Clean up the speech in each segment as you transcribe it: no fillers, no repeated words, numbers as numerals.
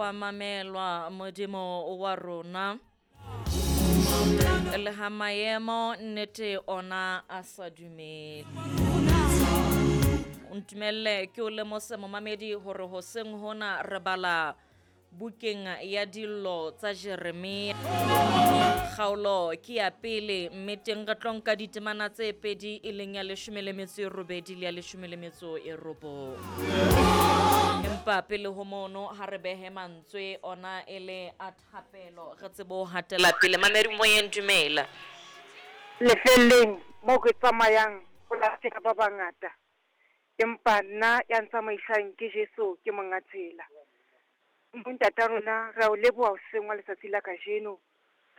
Wa mamelwa Modimo wa rona. Le ha maemo nnete ona a sa dumele. O ntumelle ke o lemose momamedi hore hoseng hona re bala bukeng ya dillo tsa Jeremia. Kgaolo ke ya pele mme teng re tlo nka ditemana tse pedi e leng ya 18 le ya 19. Empa pele ho mono ha re behe mantswe ona e le a thapelo re tsebe ho hatela pele. Mamedi moyeng dumela. Lefelleng moo ke tsamayang ho lahleha ba bangata, empa nna ya ntsamaisang ke Jesu ke monga tsela. Ntata rona re a o leboha hoseng wa letsatsi la kajeno.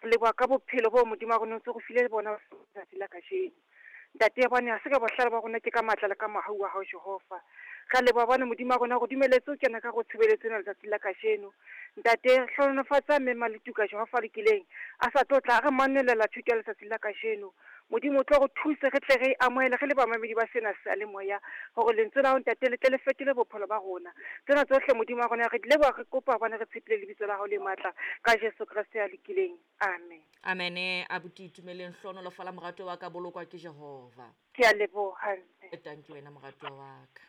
Re leboha ka bophelo bo Modimo wa rona o ntso re file bona letsatsi la kajeno. Ntate bone ha se ka bohlale ba rona ke ka matla le ka mohau wa hao Jehova. Re a leboha bone Modimo wa rona re dumeletse ho kena ka go tshebeletso ena letsatsi la kajeno. Ntate hlohonolofatsa mme Maletuka Jehova lokileng a sa tlo tla re manelela thuto ya letsatsi la kajeno. Modimo o tlo re thuse re tle re amohele re le bamamedi ba sena seyalemoya hore lentswe la hao ntate le tle le fetole bophelo ba rona. Tsena tsohle Modimo wa rona re di leboha re kopa hobane re tshepile lebitso la hao le matla ka Jesu Kreste ya lokileng. Amen. Amene. Abuti Itumeleng hlohonolofala morato wa ka bolokwa ke Jehova. Ke a leboha mme. Tanki wena morato wa ka.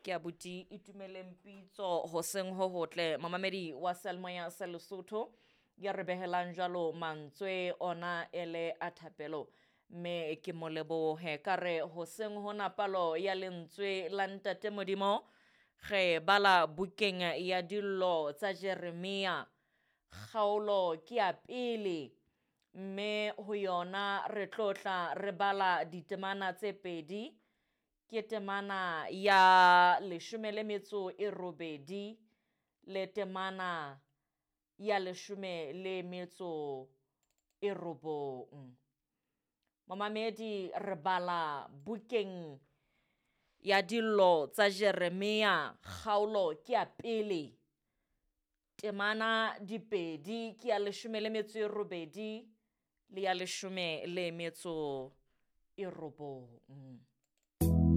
Ke abuti Itumeleng Pitso hoseng ho hotle momamedi wa Seyalemoya sa Lesotho ya re behelang jwalo mantswe ona ele a thapelo mme ke mo lebohe ka re hoseng hona palo ya lentswe la ntate Modimo re bala bukeng ya dillo tsa Jeremia kgaolo ke ya pele mme ho yona re tlo tla re bala ditemana tse pedi ke temana ya 18 le temana ya 19. Momamedi re bala bukeng ya dillo tsa Jeremia kgaolo ke ya pele temana dipedi ke ya 18 le ya 19.